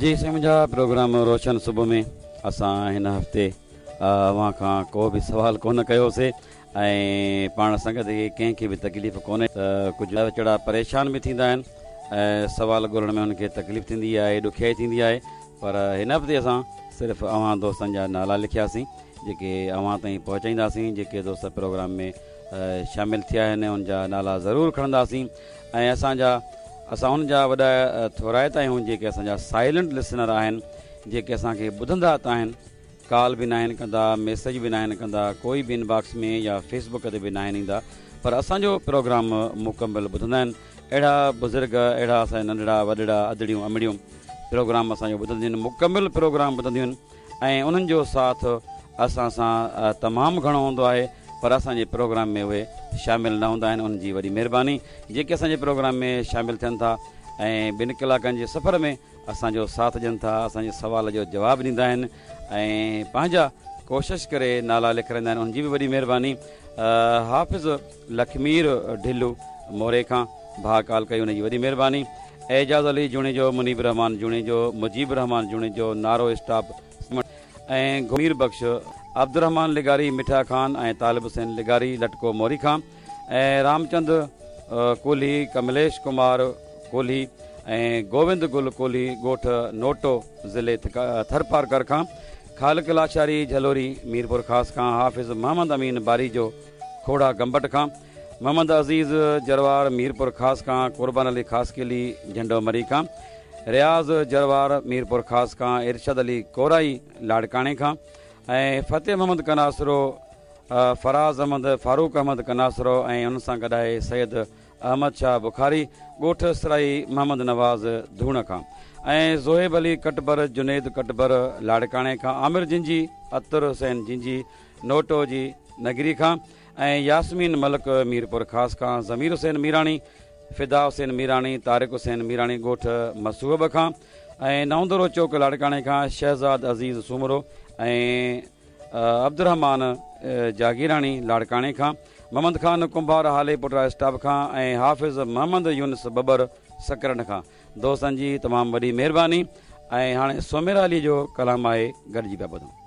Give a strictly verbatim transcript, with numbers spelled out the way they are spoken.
جي سائين منهنجا پروگرام روشن صبح ۾ اسان هن هفتي اوهان کان ڪو به سوال ڪونه ڪيوسي ۽ پاڻ سنگت کي ڪنهن کي به تڪليف ڪونهي ته ڪجهه ويچارا پريشان به ٿيندا آهن ۽ سوال ڳولڻ ۾ انهن کي تڪليف ٿيندي آهي، ڏکيائي ٿيندي آهي، پر هن هفتي اسان صرف اوهان دوستن جا نالا لکياسين جيڪي اوهان تائين پهچائينداسين، جيڪي دوست پروگرام ۾ شامل ٿيا آهن ان جا نالا ضرور کڻنداسين ۽ اسان جا اسان ان جا وڏا ٿورائتا آهيون جيڪي اسان جا سائلنٽ لسنر آهن، جيڪي اسان کي ٻڌندا ته آهن، ڪال به ناهن ڪندا، ميسيج به ناهن ڪندا، ڪوئي به انباڪس ۾ يا فيس بڪ تي به ناهن ايندا، پر اسان جو پروگرام مڪمل ٻڌندا آهن. اهڙا بزرگ، اهڙا اسان جا ننڍڙا وڏڙا، ادڙيون امڙيون پروگرام اسان جو ٻڌنديون آهن، مڪمل پروگرام ٻڌنديون آهن ۽ انهن جو ساٿ اسان سان تمام گهڻو هوندو آهي، پر اسان جي پروگرام ۾ اهي شامل نه هوندا آهن. انهن جي وڏي مهرباني جيڪي اسان جي پروگرام ۾ شامل ٿين ٿا ۽ ٻن ڪلاڪن جي سفر ۾ اسان جو ساٿ ڏين ٿا، اسان جي سوال جو جواب ڏيندا آهن ۽ پنهنجا ڪوشش ڪري نالا لکرائيندا آهن، انهن جي به وڏي مهرباني. حافظ لکمير ڍلو موري کان ڀاء ڪال ڪئي، ان جي وڏي مهرباني. اعجاز علي جوڻيجو، منيب الرحمان جوڻيجو، مجيب الرحمان جوڻيجو، نارو اسٽاپ ۽ مير بخش، عبدالرحمان لغاري مٺا خان ۽ طالب حسين لغاري لٽڪو موري کان ۽ رامچند ڪولهي، ڪمليش ڪمار ڪولهي ۽ گووند گل ڪولهي ڳوٺ نوٽو ضلعي ٿرپارڪر کان، خالق لاشاري جهلوري ميرپور خاص کان، حافظ محمد امين باريجو کوڙا گمبٽ کان، محمد عزيز جروار ميرپور خاص کان، قربان علي خاصخيلي جهنڊو مري کان، رياض جروار ميرپور خاص کان، ارشد علي ڪورائي لاڙڪاڻي کان ۽ فتح محمد ڪناسرو، فراز احمد، فاروق احمد ڪناسرو ۽ ان سان گڏ آهي سيد احمد شاهه بخاري ڳوٺ سرائي محمد نواز ڌوڻ کان ۽ زوهيب علي ڪٽبر، جنيد ڪٽبر لاڙڪاڻي کان، عامر جنجي، عطر حسين جنجي نوٽو جي نگري کان ۽ ياسمين ملڪ ميرپور خاص کان، ضمير حسين ميراڻي، فدا حسين ميراڻي، طارق حسين ميراڻي ڳوٺ مسوب کان ۽ نئوندرو چوڪ لاڙڪاڻي کان شهزاد عزيز سومرو ۽ عبدالرحمان جاگيراڻي لاڙڪاڻي کان، محمد خان ڪنڀار هالي پٽرا اسٽاپ کان ۽ حافظ محمد يونس ٻٻر سڪرنڊ کان. دوستن جي تمام وڏي مهرباني ۽ هاڻي سوميرا علي جو ڪلام آهي، گڏجي پيا ٻڌون.